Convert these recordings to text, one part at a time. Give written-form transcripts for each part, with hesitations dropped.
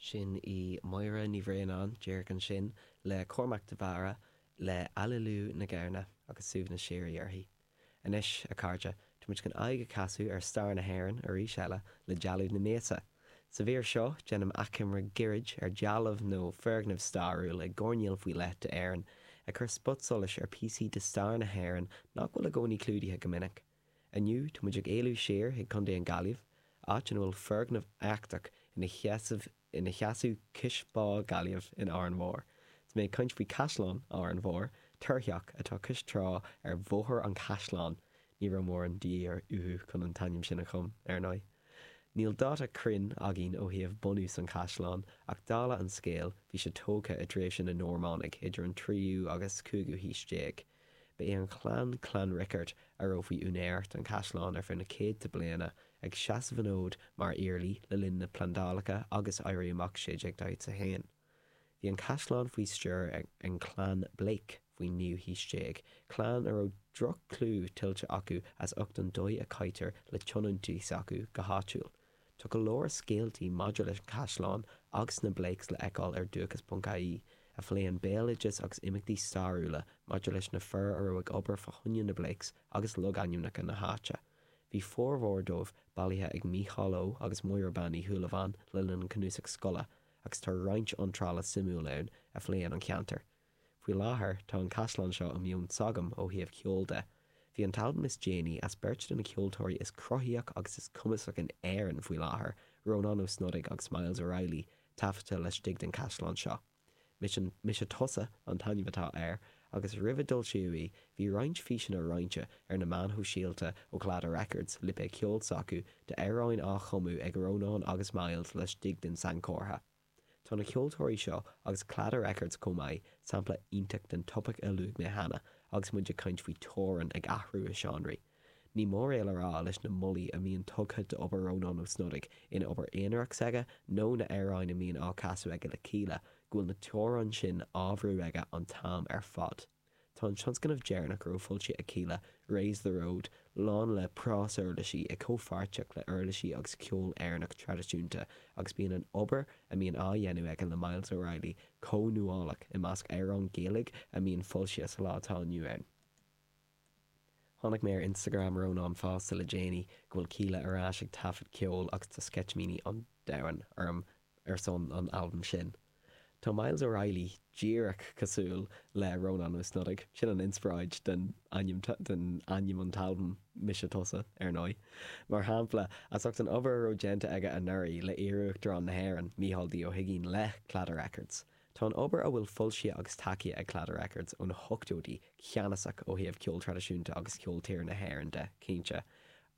Sin í Máire Ní Bhraonáin díreach ansin le Cormac de Barra le Aililiú na Gamhna agus suaimhneas síoraí uirthi. Anois, a chairde, tá muid chun aghaidh a chasadh ar stair na hÉireann arís eile le Dealbh na Míosa. Sa mhír seo, déanaim achoimre gairid ar dhealbh nó foirgneamh stairiúil i gcoirnéal faoi leith d'Éirinn, ag cur spotsolais ar phíosaí de stair na hÉireann nach bhfuil i gcónaí clúdaithe go minic. Inniu, tá muid ag éalú siar chuig Contae an Gaillimh, áit ina bhfuil foirgneamh éachtach ina sheasamh ina sheasamh cois Bá Gaillimh in Árainn Mhór. Tá mé ag caint faoi Caisleán Árainn Mhór, túrtheach atá cois trá ar Bhóthar an Chaisleáin, ní raibh mórán de dhíth uathu chun an t-ainm sin a chum, ar ndóigh. Níl dáta cruinn againn ó thaobh bunús an chaisleáin, ach dála an scéil, bhí sé tógtha i dtréimhse na Normánaigh, idir an tríú agus cúigiú haois déag. Ba é an chlann Clann Riocard a raibh faoi úinéireacht an chaisleáin ar feadh na céadta bliana, ag seasamh an fhóid mar iarlaí le linn na Plandálacha agus Éirí Amach 1641. Bhí an caisleán faoi stiúir ag an chlann Blake faoin naoú haois déag, clann a raibh droch-chlú tuillte acu as ucht an dóigh a chaitear le tionóntaí s'acu go háitiúil. Tá go leor scéaltaí maidir leis an chaisleán agus na Blakes le fheiceáil ar Dúchas.ie, a phléann béaloideas agus imeachtaí stairiúla maidir leis na fir a raibh ag obair fá choinne na Blakes agus logainmneacha na háite. Bhí formhór dóibh bailithe ag Mícheál Ó agus Máire Bean Uí Shúilleabháin le linn an Cnuasach Scoile agus tá roinnt iontrála suimiúil ann a phléann an ceantar. Faoi láthair, tá an caisleán seo i meon s'agam ó thaobh ceoil de. Bhí an t-albam is déanaí as beirt de na ceoltóirí is cruthaíoch agus is cumasach in Éirinn faoi láthair, Rónán Ó Snodaigh agus Myles O'Reilly, taifeadta laistigh den chaisleán seo. Mise, Mise Tusa an t-ainm atá air, agus roimh a d'fhoilsíodh í, bhí roinnt físeanna roinnte ar na meáin shóisialta ó Claddagh Records, lipéad ceoil s'acu, d'amhráin á chumadh ag Rónán agus Myles laistigh den sainchomhartha. Tá na ceoltóirí seo, agus Claddagh Records chomh maith, sampla iontach den topaic a luaigh mé cheana agus muid ag caint faoi teorainn ag athrú i seánraí. Ní mór é le rá leis na molaí a mbíonn tugtha d'obair Rónán Ó Snodaigh ina obair aonarach s'aige nó na amhráin a mbíonn á casadh aige le Kíla, go bhfuil na teorainn sin á bhrú aige an t-am ar fad. Tá an tionscnamh deireanach a raibh foilsithe ag Kíla, Raise the Road, lán le prásuirlisí i comhpháirtíocht le uirlisí agus ceol Éireannach traidisiúnta agus bíonn an obair a mbíonn á dhéanamh aige le Myles O'Reilly chomh nuálach i measc amhráin Gaeilge a mbíonn foilsithe sa lá atá inniu ann. Chonaic mé ar Instagram Rónán fosta le déanaí go bhfuil Kíla ar ais ag taifead ceoil agus tá sceitimíní an domhain orm ar son an albaim sin. Tá Myles O'Reilly díreach cosúil le Rónán Ó Snodaigh, sin an inspioráid den ainm den ainm an t-albam Mise Tusa, ar ndóigh. Mar shampla, as ucht an obair a raibh déanta aige anuraidh le iarUachtarán na hÉireann, Mícheál D. Ó hUigínn le Claddagh Records. Tá an obair a bhfuil foilsithe agus tacaithe ag Claddagh Records ó na hochtóidí ceannasach ó thaobh ceol traidisiúnta agus ceol tíre na hÉireann de, cinnte.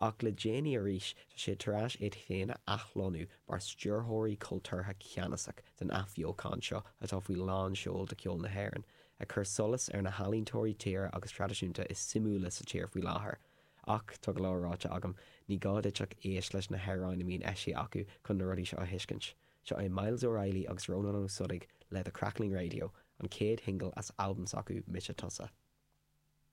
Ach le déanaí arís, tá sé tar éis iad féin a athlonnú mar stiúrthóirí cultúrtha ceannasach den athbheochan seo atá faoi lán seoil do cheol na hÉireann, ag cur solas ar na healaíontóirí tíre agus traidisiúnta is suimiúla sa tír faoi láthair. Ach, tá go leor ráite agam, ní gá duit ach éist leis na hamhráin a mbíonn eisithe acu chun na rudaí seo a thuiscint. Seo é Myles O'Reilly agus Rónán Ó Snodaigh le The Crackling Radio, an chéad shingil as albam s'acu, Mise Tusa.